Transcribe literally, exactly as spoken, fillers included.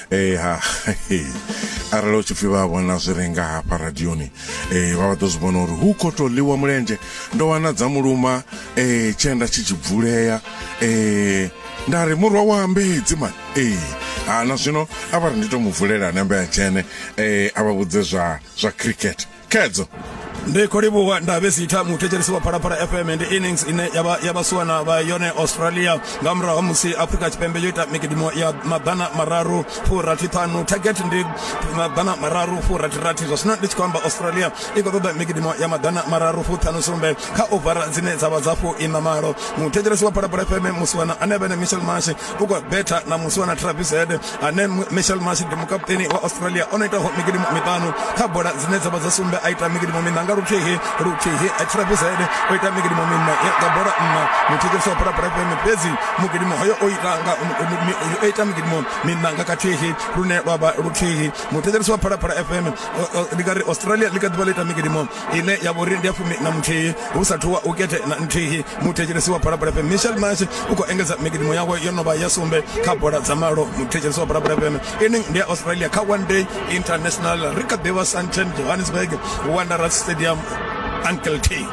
Eh ha arali u tshi pfi vha vhona zwi re nga hafha radioni, eh vha vha ḓo zwi vhona uri hu khou tou ḽiwa mulenzhe. Ndo wana dza muluma eh tshienda tshi tshi bvulea, eh nda ri murwa wa ambedzi mani. Ee ha na zwino a vha ri ndi to mu vulela nembe ya dzhene, eh a vha vhudze zwa zwa cricket khedzo. Ndi khou livhuwa Ndavhezitha. Muthetshelesi wa Phalaphala F M, ndi innings ine ya ya vhasiwana vha yone Australia nga murahu ha musi Afrika Tshipembe yo ita mikidimo ya maḓana mararu furathi ṱhanu. Target ndi maḓana mararu furathi rathi. Zwa zwino ndi tshi khou amba, Australia i khou ṱoḓa mikidimo ya maḓana mararu fuṱhanu sumbe kha ovara dzine dza vha dza fu ina malo. Muthetshelesi wa Phalaphala F M, musiwana ane vha ene Mitchell Marsh u khou betha na musiwana Travis Head, ane Mitchell Marsh ndi mukaputeni wa Australia, o no itaho mikidimo miṱanu kha bola dzine dza vha dza sumbe, a ita mikidimo miṋa nga luthihi luthihi. Travis Head o ita mikidimo miṋa nga bola nṋa, muthetshelesi wa Phalaphala F M, fhedzi mugidimo hoyo o ita nga o ita migidimo miṋa nga kathihi lune lwa vha luthihi. Muthetshelesi wa Phalaphala F M, ndi nga ri Australia ḽi kha ḓivha ḽo ita migidimo ine ya vha uri ndi ya fumi na muthihi hu sathu wa ukete na nthihi. Muthetshelesi wa Phalaphala F M, Mitchell Marsh u khou engedza migidimo yawe, yo no vha ya sumbe kha bola dza malo. Muthetshelesi wa Phalaphala F M, inning ndi ya Australia kha one day international. Ri kha ḓivha Sandton, Johannesburg, Wanderers Stadium. Uncle T.